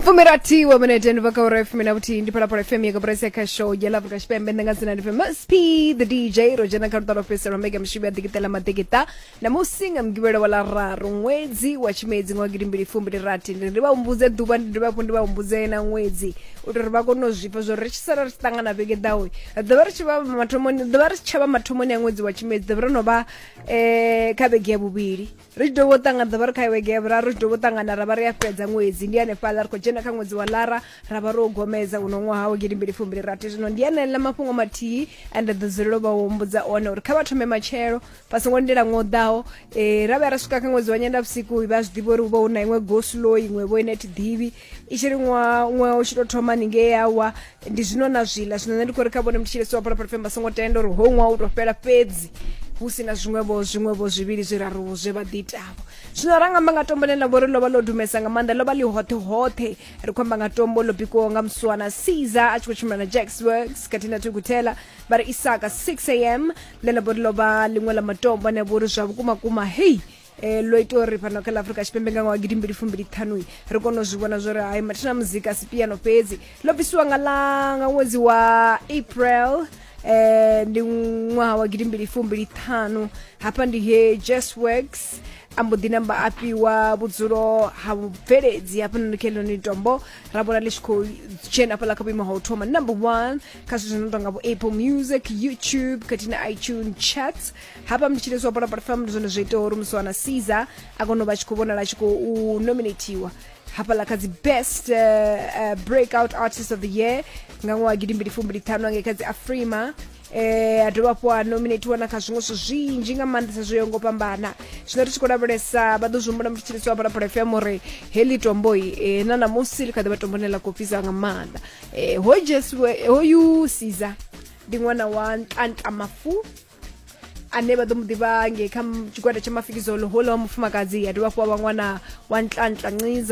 Fumirathi wa minete ndi bva kha ura ya fumi na vhuthihi. Ndi Phalaphala FM ya koporasi ya khasho ya ḽa Afrika Tshipembe. Nṋe nga dzina ndi Famous P the DJ. Ro dzhena kha luṱa lwa fhedzisela lwa mbekanyamushumo ya ḓikiṱela maḓikiṱa ṋamusi nga Mugivhela wa ḽa raru ṅwedzi wa Tshimedzi ṅwaha 2026. Ndi vha humbudze ḓuvha, ndi dovhe hafhu ndi vha humbudze na ṅwedzi u itela uri vha kone u zwi pfa zwa uri ri tshi sala ri tshi ṱangana vhege ḓaho ri ḓo vha ri tshi vha mathomoni, ḓo vha ri si tsha vha mathomoni a ṅwedzi wa Tshimedzi, ḓo vha ro no vha kha vhege ya vhuvhili. Ri tshi dovha u ṱangana ḓo vha ri kha vhege ya vhuraru, ri tshi dovha u ṱangana ra vha ri a fhedza ṅwedzi. Ndi hanefhaḽa ri khou dzhena kha ṅwedzi wa Lara, ra vha ro gomedza uno ṅwaha wa 2026. Zwino ndi aneḽa mafhungo mathihi ane nda ḓo dzulela u vha humbudza one uri kha vha thome matshelo, vha songo lindela ṅwaha u ḓaho. Ra vhuya ra swika kha ṅwedzi wa Nyendavhusiku vha zwi ḓivha uri hu vha hu na iṅwe go slow iṅwe vho ine thi ḓivhi i tshi ri ṅwaha ṅwaha u tshi tou thoma haningei yawa ndi zwino na zwiḽa. Zwino nṋe ndi khou ri kha vhone mutshilesi wa Phalaphala FM vha songo tenda uri hoyu ṅwaha u tou fhela fhedzi hu si na zwiṅwevho zwiṅwevho zwivhili zwiraru zwe vha ḓi itavho. Zwino ra nga amba nga tombo ḽine ḽa vha uri ḽo vha ḽo dumesa nga maanḓa, ḽo vha ḽi hoṱhe hoṱhe. Ri khou amba nga tombo ḽo bikiwaho nga Muswana Caesar a tshi khou tshimbila na Jax Works khathihi na Thukutela vha ri Isaka 6 am, ḽe ḽa vha uri ḽo vha ḽiṅwe ḽa matombo ane a vha uri zwa vhukuma kuma hei ḽo ita uri fhano kha ḽa Afrika Tshipembe nga ṅwaha 2025 ri kone u zwi vhona zwori hai mathina muzika si piano fhedzi. Ḽo bvisiwa nga ḽa nga ṅwedzi wa April ndi ṅwaha wa 2025. Hafha ndi he Jazz Works a mbo ḓi namba a fhiwa vhudzulo ha vhubveledzi hafhanoni kha heḽinoni tombo, ra vhona ḽi tshi khou dzhena hafhaḽa kha vhuimo ha u thoma number 1 kha zwithu zwi no tonga vho Apple Music, YouTube khathihi na iTunes charts. Hafha mutshilesi wa Phalaphala FM ndi zwone zwo itaho uri Muswana Caesar a kone u vha tshi khou vhonala a tshi khou nominatiwa hafhaḽa kha dzi best breakout artist of the year nga ṅwaha 2025 angei kha dzi Afrima. A dovha hafhu a nominatiwa na kha zwiṅwe zwithu zwinzhi nga maanḓesa zwo yaho ngo fhambana. Zwino ri tshi khou lavhelesa vha ḓo zwi humbula mutshilisi wa Phalaphala FM uri heḽi tomboi na ṋamusi ḽi kha ḓi vha tombo ḽine ḽa khou fhisa nga maanḓa. Hoyu Jesu hoyu Caesar ndi ṅwana wa Ntlantla Mafu ane vha ḓo mu ḓivha ngei kha tshigwada tsha Mafikizolo, houḽa wa mufumakadzi a dovha hafhu a vha ṅwana wa Ntlantla Nciza.